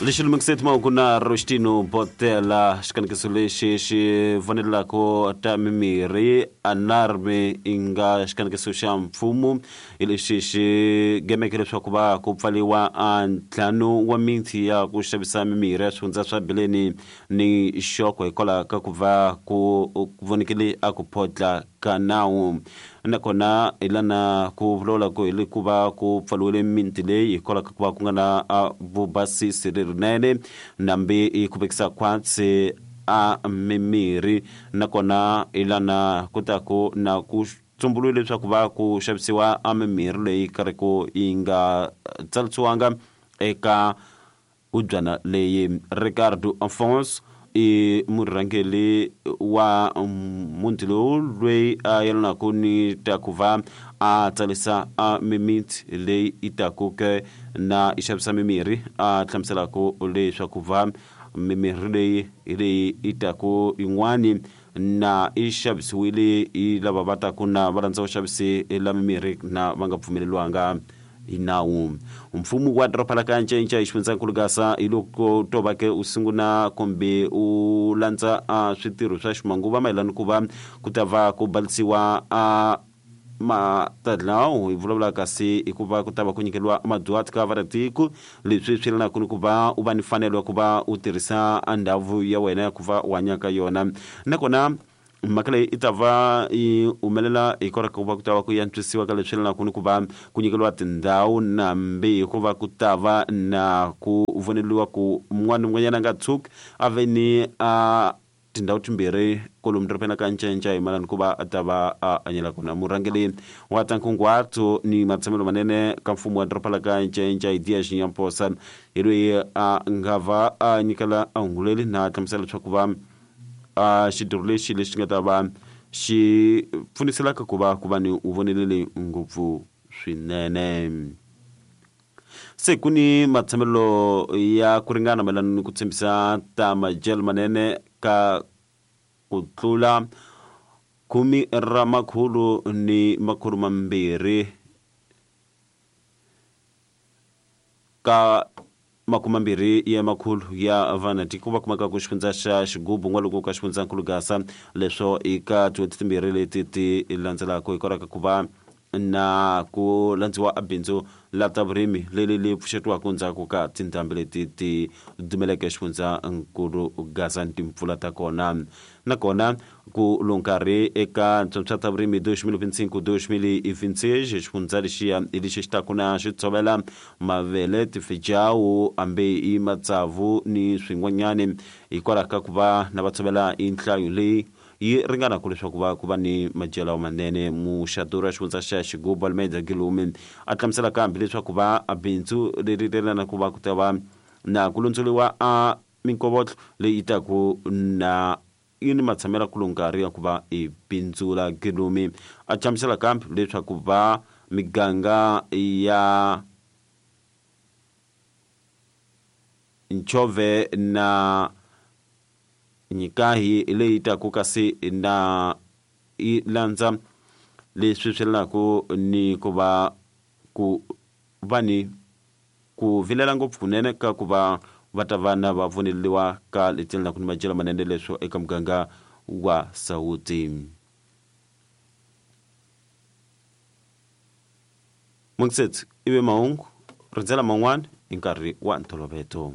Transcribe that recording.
Lexi lumekiseti mahungu na Rostino Botela. Xikanekiso lexi xi vonelelaka ta mimirhi anarme i nga xikanekiso xa mfumo hi lexi xi gemeke leswaku va ku pfaliwa a ntlhanu wa miti ya ku xavisa mimirhi ya swifundza swa Bileni ni Xoko hikwalaho ka ku va ku vonekile a ku photla ka nawu. Nakona hi lana ku vulavula ku hi ku va ku pfaliwile miti leyi hikwalaho ka ku va ku nga na vubasisi lerinene nambi yi khuvekisa khwatsi a mimirhi. Nakona hi lana ku ta ku na ku tsumbuluwe leswaku va ku xavisiwa a mimirhi leyi karhi ku yi nga tsarisiwanga eka hubyana leyi. Ricardo Afonso i murhangeri wa muti lowu loyi a yelanaka ni ta ku va a tsarisa a mimiti leyi yi taku ke na yi xavisa mimirhi, a hlamuselaka leswaku va mimirhi leyi hi leyi yi taku yin'wani na yi xavisiwile hi lava va taku na va landza vaxavisi la mimirhi na va nga pfumeleriwanga hi nawu. Mfumo wa doroba la ka Ncenca hi xifundzankulu Gaza hi loko to va ke u sungula kumbe u landza a switirho swa ximanguva mayelana ku va ku ta va ku balisiwa a matadlawu hi vulavula kasi hikuva ku ta va ku nyikeriwa madyuhati ka varatiko. Leswi swi yelanaka ni ku va u va ni mfanelo ya ku va u tirhisa ndhawu ya wena ya ku va u hanya ka yona. Nakona mhaka leyi i ta va yi humelela hikwalaho ka ku va ku ta va ku antswisiwa ka leswi yelanaka ni ku va ku nyikeriwa tindhawu nambi hikuva ku ta va na ku voneriwa ku un'wana ni un'wanyana a nga tshuki a ve ni a tindhawu timbirhi kolomu dorobeni ka Ncenca hi mayelana ku va a ta va a hanyela kona. Murhangeri wa ta nkunguhato ni matshamelo manene ka mfumo wa doroba la ka Ncenca hi Diya Xinyamposa hi loyi a nga va a nyikela a hunguleli na hlamusela leswaku va a xitirho lexi lexi nga ta va xi pfuniselaka ku va ku va ni voneleli ngopfu swinene. Se ku ni matshamelo ya ku ringana mayelana ni ku tshembisa ta madyelo manene ka ku tlula khume ra makhulu ni makhulu mambirhi ka makumambirhi ya makhulu ya vanatiko va kumeka ku xifundza xa Xigubu n'walungu ka xifundzankulu Gaza. Leswo i ka tin'hweti timbirhi leti ti landzelaka hikwalaho ka ku va na ku landziwa a bindzu la ta vurimi leri li pfuxetiwaka ndzhaku ka tindhambi leti ti dumeleke xifundzankulu Gaza ni timpfula ta kona. Nakona ku lo nkarhi eka ntswontswa ta vurimi 2025-2026, xifundza lexiya hi lexi xi taku na xi tshovela mavele, tifejawu, hambi i matsavu ni swin'wanyani, hikwalaho ka ku va na va tshovela hi nhlayo leyi yi ringanaka leswaku va ku va ni madyelo manene. Muxaduri wa xifundza xa Xigubu Almeida Gilumi a hlamusela kambe leswaku va bindzu leri ri ku va ku ta va na ku londzoliwa a minkovotlo leyi yi taku na yi ni matshamelo ku nkarhi ya ku va i bindzula. Gilumi a hlamusela kambe leswaku va miganga ya Nchove na Nyikahi leyi taku kasi na yi landza leswi swi yelanaka ni ku va ku va ni ku vilela ngopfu kunene ka ku va va ta va na va pfuneliwa ka leti yelanaka ni madyelo manene leswo eka muganga wa Sawuti. Mungisetsi ivi mahungu rindzela man'wana hi nkarhi wa ntolovelo.